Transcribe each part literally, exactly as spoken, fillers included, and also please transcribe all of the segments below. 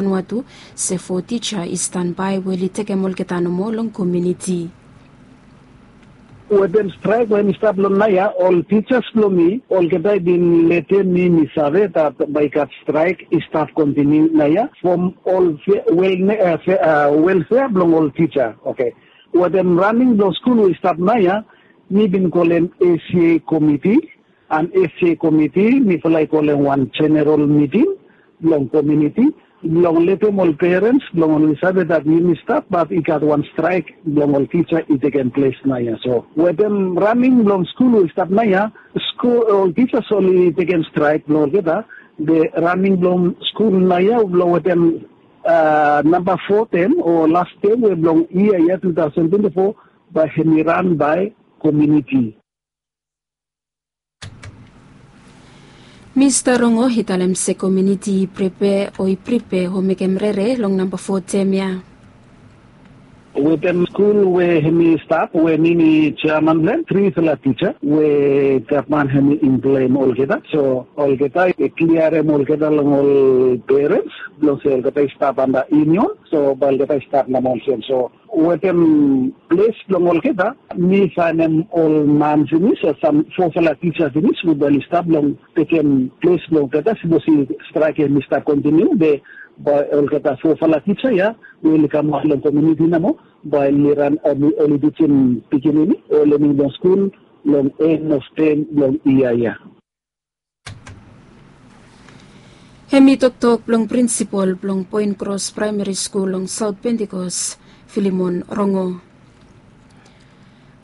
Vanuatu se fo tija i stanbae we oli tekem olgeta nomo long komuniti. Wetem straek we hemi stap long naoia, ol tijas blong mi olgeta i bin letem mi mi save dat bae i gat straek i stap kontiniu naoia from ol welfea blong ol tija. Oke. Wetem raning blong skul we i stap naoia, mi bin kolem esa komiti, an esa komiti mifala i kolem wan jeneral miting blong komuniti blong letem ol perens blong oli save dat yumi stap bat i gat wan straek blong ol tija i tekem ples naoia. So wetem raning blong skul we i stap naoia, ol tijas oli tekem straek blong olgeta. Be raning blong skul naoia blong wetem namba fo tem o las tem we blong yia ya tu taosen twenti fo bae hemi ran bae komuniti. Mista Rongo i talem se komuniti i pripea o i pripea o mekem rere long namba fo tem ya. Wetem skul we hemi stap we mi mi jeaman blong hem, trifala tija we gavman hemi implem olgeta. So olgeta i kliarem olgeta long ol perens blong se olgeta i stap anda yunion. So bae olgeta i stap namba olsem. So wetem ples blong olgeta, mi faenem ol man finis o sam fofala tija finis we bae oli stap blong tekem ples blong olgeta. Sipos i straek hemi stap kontiniu be bae olgeta fofala tija ya we oli kamaot long komuniti nomo bae oli ran, oli tijim pikinini o lenim long skul long en of tem blong yia ya. Hemi toktok blong prinsipol blong Poen Kros Praemari Skul long Saot Pentikos, Filimon Rongo.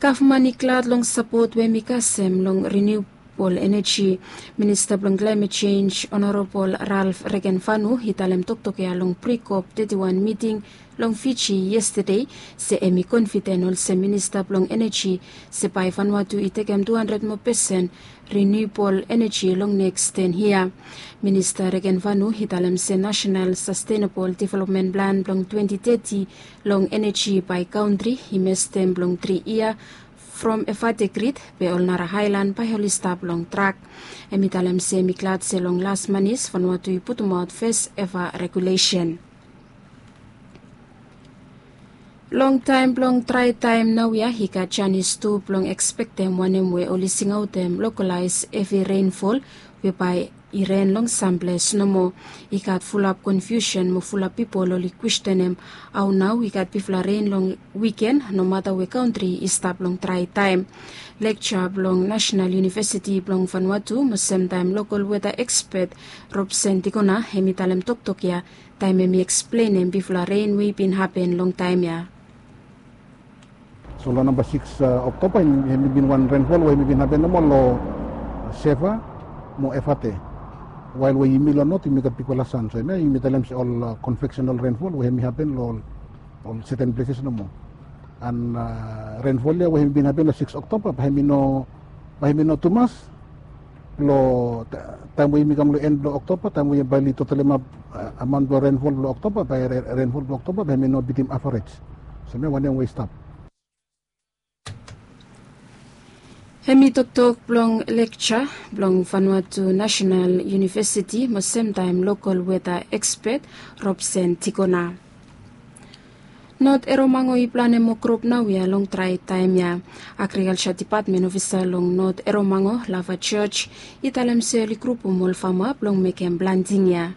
Gavman i glad long sapot we hemi kasem long riniubol eneji. Minista blong klaemet jenj, Onorabol Ralf Regenvanu, i talem toktok ya long pri-kop teti wan miting long Fiji yestade, se hemi konfiden olsem minista blong eneji se bae Vanuatu i tekem tu handred moa pesen riniubol eneji long neks ten yia. Minista Regenvanu i talem se Nasenal Sastenabol Developmen Plan blong twenti teti long eneji bae kantri i mestem blong tri yia from Evate Grid, be ol nara aelan bae oli stap long trak. Hemi talem se hemi glad se long las manis Vanuatu i putumaot fes eva regulesen. Long taem blong drae taem naoia i gat janis tu blong ekspektem wanem we oli singaotem lokolaes hevi renfol we bae i ren long samples nomo. I gat fulap konfiusen mo fulap pipol oli kwestenem hao nao i gat bigfala ren long wiken nomata we kantri i stap long drae taem. Lekja blong Nasenal Univesiti blong Vanuatu mo semtaem lokol weta ekspet Robsen Tikona hemi talem toktok ya taem hemi eksplenem bigfala ren we i bin hapen long taem ya. So long namba sikis Oktoba hemi bin wan renfol we hemi bin hapen nomo long Seva mo Evate. Wael we yumi long not yumi gat bigfala san, so hemia yumi talem se ol konveksenal renfol we hemi hapen long ol seten pleses nomo. An renfol ya we hemi bin hapen long sikis Oktoba bae hemi no, bae hemi no tumas long taem we yumi kam long en blong Oktoba, taem we bae oli totalemap amaon blong renfol blong Oktoba, bae renfol blong Oktoba bae hemi no bitim avarej. So hemia wanem we i stap. Hemi toktok blong lekja blong Vanuatu Nasenal Univesiti mo semtaem lokol weta ekspet Robsen Tikona. Not Eromango i planem mo krop naoia long drae taem ya. Agrikalja dipatmen ofisa long Not Eromango, Lava George, i talem se oli krupum ol fama blong mekem planting ya.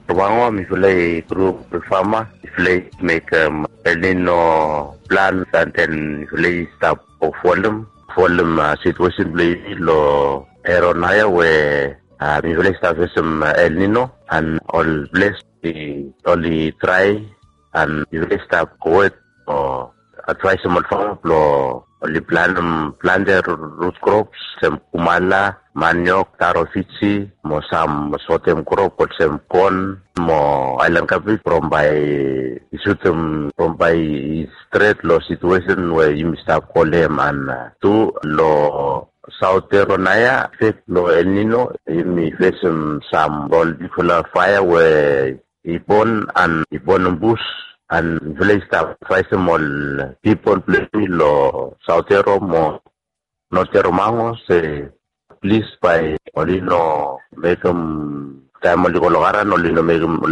Eromango mifala i grup ol fama, mifala i mekem El Nino plan, an den mifala i stap folem folem situesen blong yumi long ero naoia we mifala i stap fesem El Nino an ol ples oli drae an mifala i stap gowet o advaesem ol fama blong oli planem plante rut krops olsem kumala, maniok, taro Fiji mo sam sotem krop olsem kon mo aelan kabej from bae i sutem from bae i stret long situesen we yumi stap kolem. An tu long Saot Ero naoia efek blong El Nino yumi fesem sam ol bigfala faea we i bon an i bonem bus an mifala i stap advaesem ol pipol blong yumi long Saot Ero mo Not Eromango se plis bae oli no mekem taem oli go long aran oli no mekem